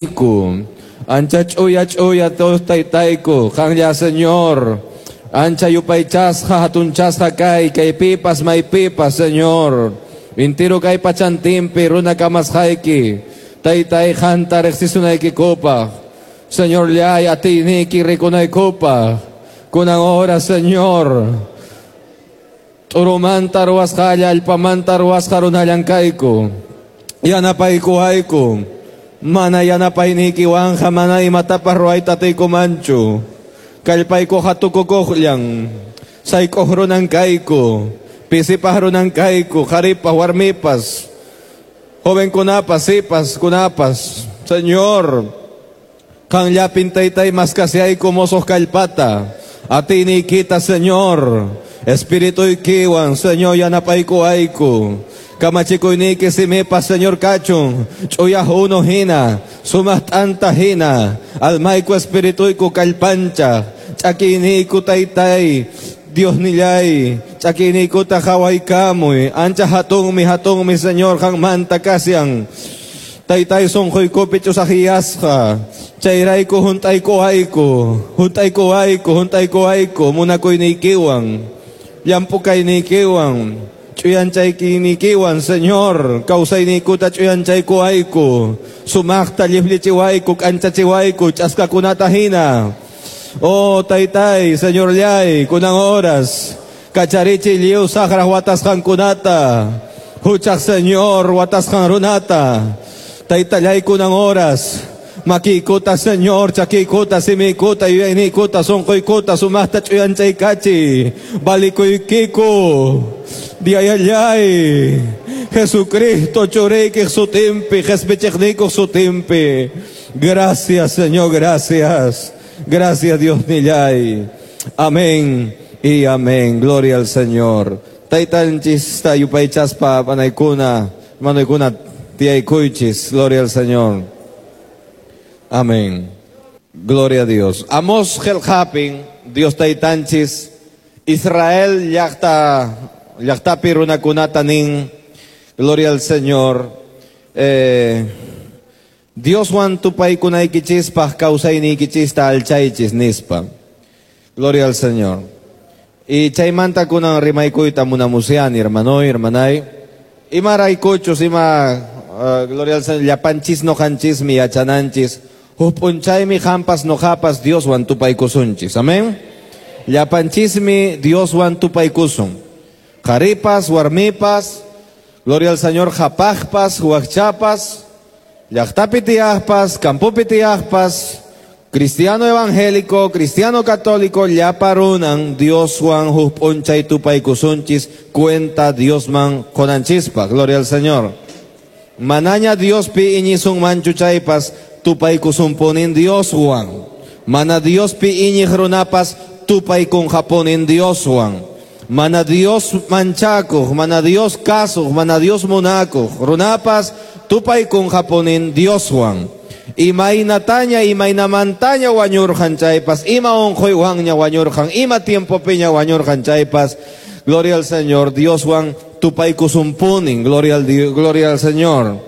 Ancha ch'uya ch'uya Dios taytayku, qanlla Señor. Ancha yupaychasqa hatunchasqa kay, kaypipas maypipas, Señor. Intiru kay pachantinpi runa kamasqayki, taytay qanta riqsisunaykikupaq. Señor llay atiyniyki rikunaykupaq. Kunan hora, Señor. T'urumanta ruwasqalla, allpamanta ruwasqa runallan kayku. Yanapaykuwayku. Mana yanapayniykiwanqa mana imatapas ruwayta atiykumanchu. Kallpaykuqa tukukuqllan. Sayk'uq runan kayku. Pisipaq runan kayku, qharipas, warmipas, jovenkunapas, sipaskunapas. Señor, qanllapin taytay maskasiayku mosoq kallpata. Atiyniykita, Señor. Espirituykiwan, Señor, yanapaykuwayku. Kamachikuyniyki simipas, Señor, kachun. Ch'uya unu hina, sumaq t'anta hina. Almayku espirituyku kallpancha. Ch'akiyniyku taytay, Dios nillay. Ch'akiyniykuta qhawaykamuy. Ancha hatunmi, hatunmi, Señor, qanmanta kashan. Taytay sunquykupi ch'usaqyasqa. Chayrayku hunt'aykuwayku, hunt'aykuwayku, hunt'aykuwayku, munakuyniykiwan, llamp'u kayniykiwan, ch'uyanchaykiynikiwan, Señor, kawsayniykuta ch'uyanchaykuwayku, sumaqta lliflichiwayku, k'anchachiwayku, ch'askakunata hina. Oh, taytay, Señorllay, kunan horas, kacharichiy lliw saqraq watasqankunata, huchaq Señor, watasqan runata, taytallay kunan horas, makiykuta, Señor, chakiykuta, simiykuta, yuyayniykuta, sunquykuta, sumaqta ch'uyanchaykachiy, valikuykiku, Diayallay, Jesucristo churiykiq sutinpi, qhispichiqniykuq sutinpi. Gracias, Señor, gracias. Gracias, Dios nillay. Amén y amén. Gloria al Señor. Taytanchista yupaychaspa panaykuna, hermanoykuna tiyaykuychis. Gloria al Señor. Amén. Gloria a Dios. Amos qillqapin, Dios taytanchis, Israel llaqta llaqtapi runakunata nin. Gloria al Señor. Dioswan tupaykunaykichispaq kawsayniykichista alchaychis nispa. Gloria al Señor. Y chaymanta kunan rimaykuyta munamusyani, hermanoy, hermanay. Imaraykuchus, ima, gloria al Señor, llapanchis noqanchismi yachananchis. Huk p'unchaymi qampas noqapas Dioswan tupaykusunchis. Amén. Llapanchismi Dioswan tupaykusun. Qharipas, warmipas, gloria al Señor, qhapaqpas, wakchapas, llaqtapi tiyaqpas, campopi tiyaqpas, cristiano evangélico, cristiano católico, llapa runan Dioswan huk p'unchay tupaykusunchis, cuenta Diosman qonanchispa. Gloria al Señor. Manaña Diospi iñisunmanchu chaypas tupaykusunpunin Dioswan. Mana Diospi iñiq runapas tupaykunqapunin Dioswan. Mana Dios manchakuq, mana Dios kasuq, mana Dios munakuq runapas tupaykunqapunin Dioswan. Imaynataña, imaynamantaña wañurqan chaypas, ima unquywanña wañurqan, ima tiempopiña wañurqan chaypas, gloria al Señor, Dioswan tupaykusunpunin, gloria al Señor.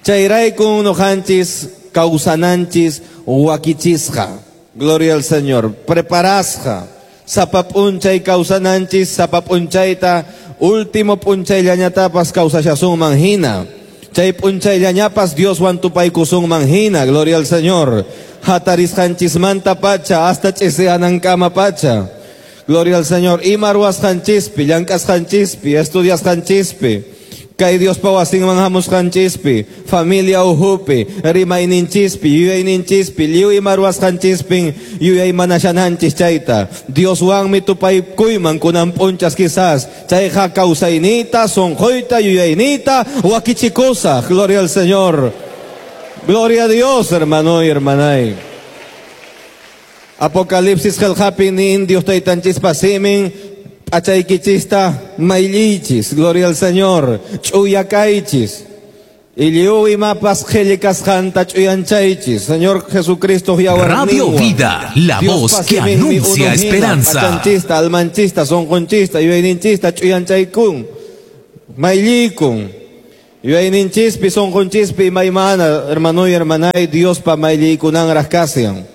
Chayrayku noqanchis kawsananchis wakichisqa, gloria al Señor, preparasqa, sapa p'unchay kawsananchis, sapa p'unchayta, último p'unchayllañatapas kawsashasunman hina. Chay p'unchayllañapas Dioswan tupaykusunman hina, gloria al Señor. Hatarisqanchismanta pacha hasta ch'isiyanankama pacha. Gloria al Señor. Ima ruwasqanchispi, llank'asqanchispi, estudiasqanchispi, kay Diospa wasinman hamusqanchispi, familia uhupi, rimayninchispi, yuyayninchispi, lliw ima ruwasqanchispin yuyaymanashananchis chayta. Dioswanmi tupaykuyman kunan p'unchas quizás. Chayqa kawsayniyta, sunquyta, yuyayniyta wakichikusaq. Gloria al Señor. Gloria a Dios, hermano y hermanay. Apocalipsis qillqapi nin Dios taytanchispa simin p'achaykichista mayllichis. Gloria al Señor. Ch'uya kaychis. Lliw imapas qhilli kasqanta ch'uyanchaychis. Señor Jesucristo yawarninwan. Radio Vida, la Dios voz que pasiminmi anuncia unuhina, esperanza. P'achanchista, almanchista, sunqunchista, yuyayninchista ch'uyanchaykun. Mayllikun. Yuyayninchispi, sunqunchispi imaymana, hermanoy, hermanay, Diospa mayllaykunanraq kasiyan.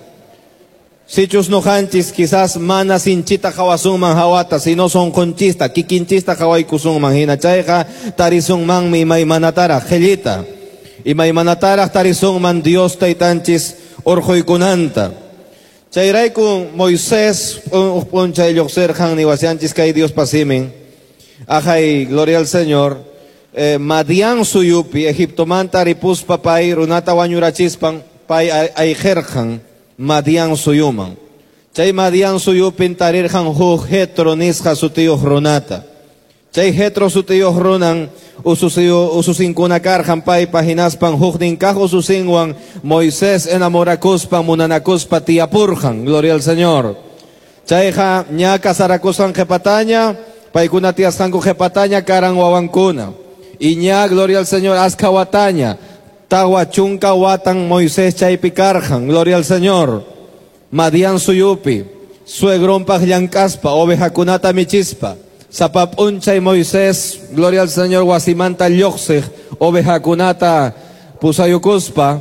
Sichus noqanchis quizás mana sinchita qhawasunman hawata, sino sunqunchista, kikinchista qhawaykusunman hina chayqa tarisunmanmi imaymanataraq qhillita. Imaymanataraq tarisunman Dios taytanchis urquykunanta. Chayrayku Moisés uj p'unchay lluqsirqan niwasianchis kay Diospa simin. Ajay, gloria al Señor. Madian suyupi, Egiptomanta ripuspa pay runata wañurachispan pay ayqirqan Madian suyuman. Chay Madian suyupin tarirqan huk Jetro nisqa sutiyuq runata. Chay Jetro sutiyuq runan ususinkuna karqan paypa hinaspan huknin kaq ususinwan Moisés enamorakuspa munanakuspa tiyapurqan. Gloria al Señor. Chayqa ña casarakusqan qhipataña, paykuna tiyasqanku qhipataña karan wawankuna. Y ña, gloria al Señor, askha wataña, 40 watan Moisés chaypi karqan. Gloria al Señor. Madian suyupi, suegronpaq llank'aspa, ovejakunata michispa. Sapa p'unchay Moisés, gloria al Señor, wasimanta lluqsiq ovejakunata pusayukuspa,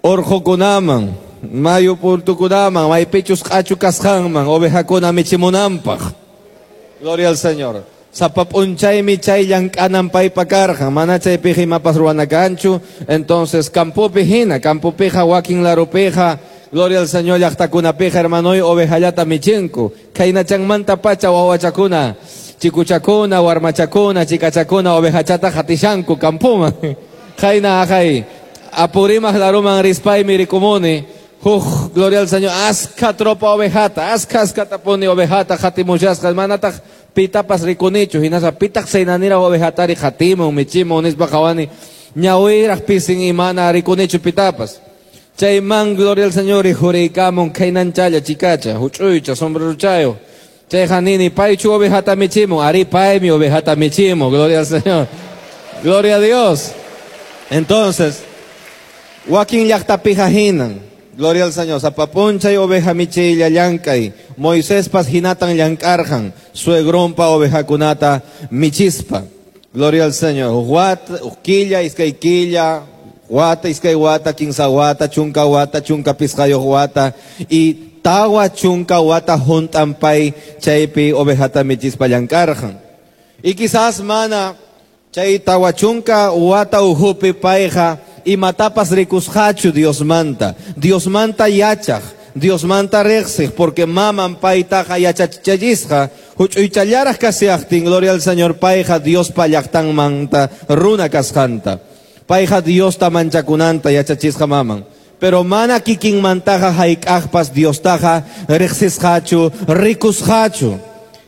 urqukunaman, mayu purtukunaman, maypichus q'achu kasqanman, ovejakuna michimunanpaq. Gloria al Señor. Sapa p'unchaymi chay llank'anan paypa karqan, mana chaypiqa imapas ruwana kanchu. Entonces, campopi hina, campopiqa wakin larupiqa, gloria al Señor, llaqtakunapiqa, hermanoy, ovejallata michinku. Khaynachanmanta pacha wawachakuna, chikuchakuna, warmachakuna, chikachakuna, ovejachata qatishanku campoman. Khayna ajay, Apurímac laruman rispaymi rikumuni, huk, gloria al Señor, askha tropa ovejata, askha askhatapuni ovejata qatimushasqa, manataq pitapas rikunichu, hinaspa pitaq saynaniraq ovejatari qatimun, michimun, nispa qhawani, ñawiraq pisin imana rikunichu pitapas. Chayman, gloria al Señor, rikhuriykamun khaynanchalla chikacha, huch'uycha, sombreruchayo. Chayqa nini, paychu ovejata michimun, ari paymi ovejata michimun, gloria al Señor. Gloria a Dios. Entonces, wakin llaqtapiqa hinan, gloria al Señor, sapa p'unchay oveja michiylla llank'ay, Moisespas hinatan llank'arqan, suegronpa ovejakunata michispa. Gloria al Señor. Wata, killa, iskay killa, wata, iskay wata, kinsa wata, chunka wata, chunka pisqayuq wata, y 40 wata hunt'an pay chaypi ovejata michispa llank'arqan. Y quizás mana chay 40 wata uhupi payqa imatapas rikusqachu Diosmanta. Diosmanta yachaq, Diosmanta riqsiq, porque maman paytaqa yachachisqa, huch'uychallaraq kasiaqtin, gloria al Señor, payqa Diospa llaqtanmanta runa kasqanta. Payqa Diosta manchakunanta yachachisqa maman. Pero mana kikinmantaqa hayk'aqpas Diostaqa riqsisqachu, rikusqachu.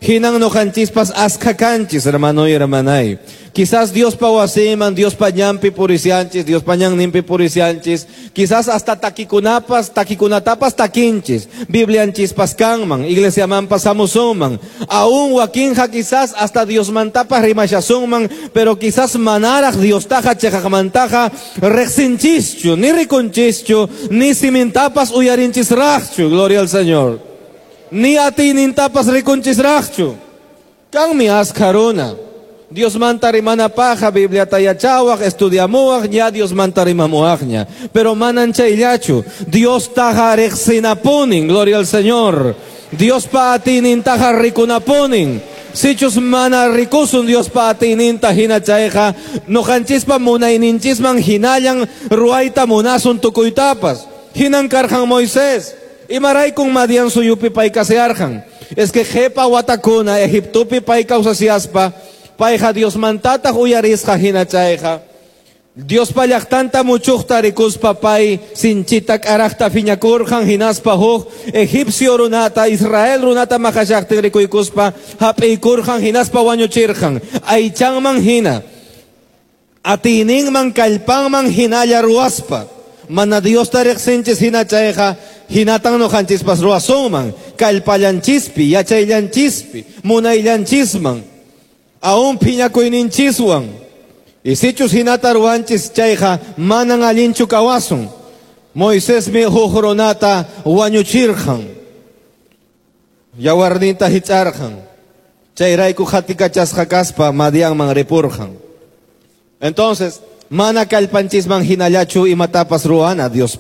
Hinan noqanchispas askha kanchis, hermano y hermanay. Quizás Diospa wasiman, Diospa ñanpi purisianchis, Diospa ñanninpi purisianchis. Quizás hasta takikunapas, takikunatapas takinchis. Biblianchispas kanman, iglesiamanpas hamusunman. Aún wakinqa quizás hasta Diosmantapas rimashasunman, pero quizás manaraq Diostaqa cheqaqmantaqa riqsinchischu, ni rikunchischu, ni simintapas uyarinchisraqchu. Gloria al Señor. Ni atiynintapas rikunchisraqchu. Kanmi askha runa. Diosmanta rimanapaqa Bibliata yachawaq, estudiamuwaq, ña Diosmanta rimamuwaqña. Pero manan chayllachu. Diostaqa riqsinapunin, gloria al Señor. Diospa atiynintaqa rikunapunin. Sichus mana rikusun Diospa atiyninta hina chayqa, noqanchispa munayninchisman hinallan ruwayta munasun tukuytapas. Hinan karqan Moisés. Imaraykun Madian suyupi pay kasearqan. Es que qhipa watakuna Egiptopi pay kawsasiyaspa, payqa Diosmantataq uyarisqa hina chayqa. Diospa llaqtanta muchuqta rikuspa pay sinchita k'araqta phiñakurqan hinaspa huk egipcio runata, Israel runata maqashaqtin rikuykuspa hap'iykurqan hinaspa wañuchirqan. Aychanman hina, atiyninman kallpanman hinalla ruwaspa. Mana Diosta riqsinchis hina chayqa, hinatan noqanchispas ruwasunman, kallpallanchispi, yachayllanchispi, munayllanchisman, aún phiñakuyninchiswan. Y sichus hinata ruwanchis chayqa, manan allinchu kawasun. Moisesmi huk runata wañuchirqan, yawarninta hich'arqan. Chayrayku qatikachasqa kaspa Madianman ripurqan. Entonces, mana kallpanchisman hinallachu imatapas ruwana Dios.